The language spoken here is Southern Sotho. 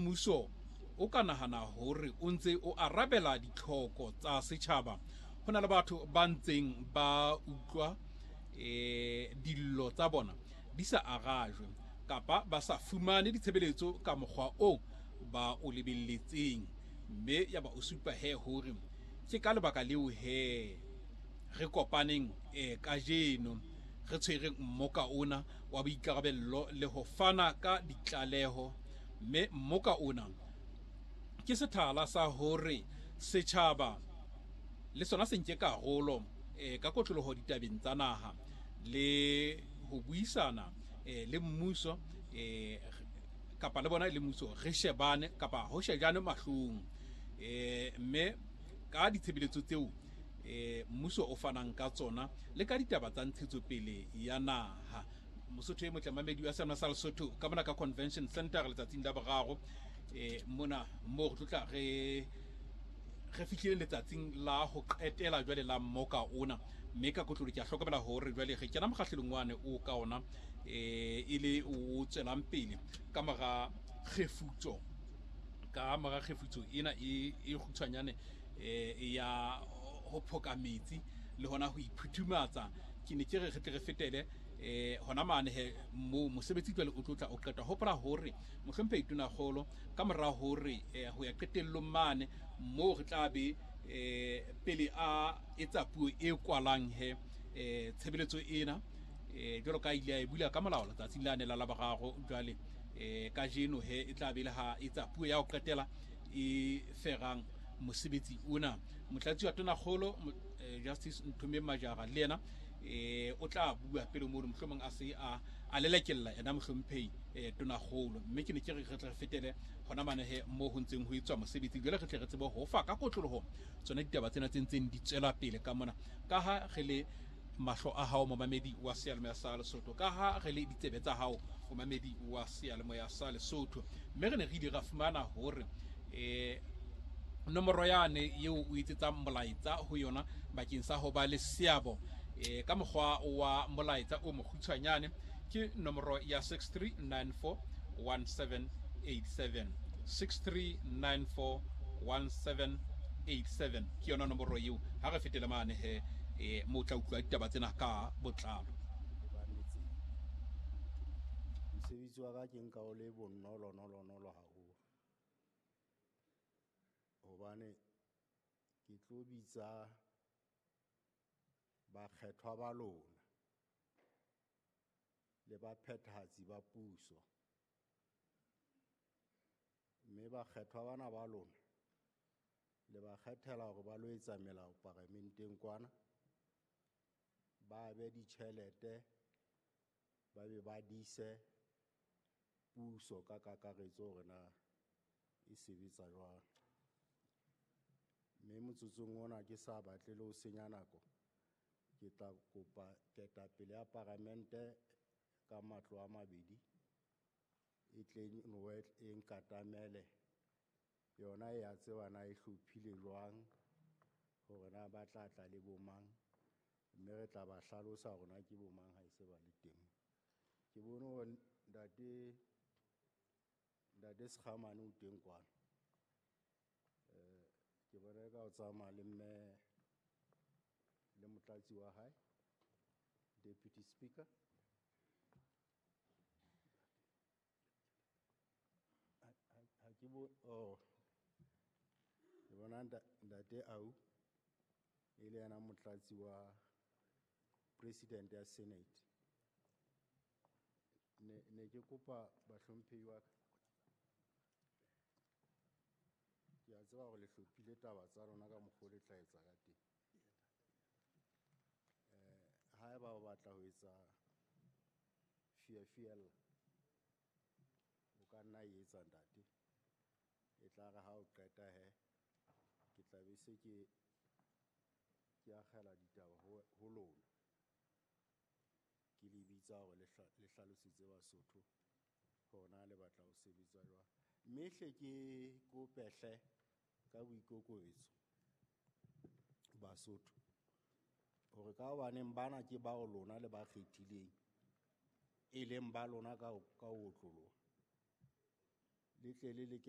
mmuso o ka nahana hore o ntse o arabela ditlhoko tsa setjhaba, ho na le batho ba ntseng ba utlwa dillo tsa bona di sa arajwe kapa ba sa fumane ditshebeletso ka mokgwa o ba o lebelletseng. Mme ya ba o supa he hore ke ka lebaka leo he re kopaneng kajeno re tshwereng mmoka ona wa boikarabello le ho fana ka ditlaleho. Mme mmoka ona ke sethala sa hore setjhaba le sona se nke karolo ka kotloloho ditabeng tsa naha le ho buisana le mmuso kapa le bona le mmuso re shebane kapa ho shejane mahlong, mme ka ditshebeletso tseo mmuso o fanang ka tsona le ka ditaba tsa ntshetsopele ya naha. Mosotho e motle mamedi wa sena sa Lesotho ka mona ka Convention Center letsatsing la boraro, mona mo re tlotla re fihlile letsatsing la ho qetela jwale la mmoka ona. Mme ka kotlolo ke a hlokomela hore jwale re kena mokgahlelong wane o ka ona e le o tswelang pele ka mora kgefutso, ka mora kgefutso ena e kgutshwanyane ya ho phoka metsi le hona ho iphuthumatsa. Ke ne ke re re tle re fetele hona mane he mo mosebetsi jwale o tlotla o qeta. Hopola hore mohlomphehi Tonakgolo ka mora hore ho ya qetellong mane moo re tla be pele a etsa puo e kwalang he tshebeletso ena jwalo ka ile a e bula ka molao letsatsing la ne la Laboraro, jwale kajeno he e tla be le ha etsa puo ya ho qetela e ferang mosebetsi ona. Motlatsi wa Tonakgolo Justice Nthomeng Majara le yena o tla bua pele mono, mohlomong a se a lelekella yena mohlomphehi Tonakgolo. Mme ke ne ke re re tle re fetele hona mane he mo ho ntseng ho etswa mosebetsi, jwale re tle re tsebe ho fa ka kotloloho tsona ditaba tsena tse ntseng di tswela pele ka mona, ka ha re le mahlo a hao momamedi wa seyalemoya sa Lesotho, ka ha re le ditsebe tsa hao momamedi wa seyalemoya sa Lesotho. Mme re ne re ile ra fumana hore nomoro yane eo o etsetsang molaetsa ho yona bakeng sa ho ba le seabo ka mokgwa wa molaetsa o mokgutshwanyane ke nomoro ya 63941787, 63941787 ke yona nomoro eo. Ha re fetele mane he mo tla utlwa ditaba tsena ka botlalo. Mosebetsi wa ka ke nka o le bonolo nolo nolo haholo, hobane ke tlo bitsa bakgethwa ba lona le baphethahatsi ba puso. Mme bakgethwa bana ba lona le ba kgethela hore ba lo etsa melao paramenteng kwana, ba be ditjhelete, ba be ba dise puso ka kakaretso hore na e sebetsa jwang. Mme motsotsong ona ke sa batle le ho senya nako, ke tla kopa ketapele ya paramente ka matlo a mabedi e tle e nkatamele. Yona e a tseba na e hlophile jwang hore na ba tla tla le bomang, mme re tla ba hlalosa hore na ke bomang ha e se ba le teng. Ke bone hore ntate Sekgamane o teng kwana. Ke bona ka o tsamaya le mme le motlatsi wa hae, Deputy Speaker. Ha ke bo, oh, ke bona ntate Au e le yena motlatsi wa President ya Senate. Ne ke kopa bahlomphehi wa ka. Ke a tseba hore le hlophile taba tsa lona ka mokgwa o le tla etsa ka teng. Haeba o batla ho etsa fiafiella, o ka nna e etsa ntate. E tla re ha o qeta he, ke tla be se ke akgela ditaba ho lona. Ke le bitsa hore le hlalosetse Basotho hore na le batla ho sebetsa jwang. Mme hle ke kope hle ka boikokobetso Basotho hore ka hobaneng bana ke bao lona le ba kgethileng, e leng ba lona ka ho otloloha, le tle le leke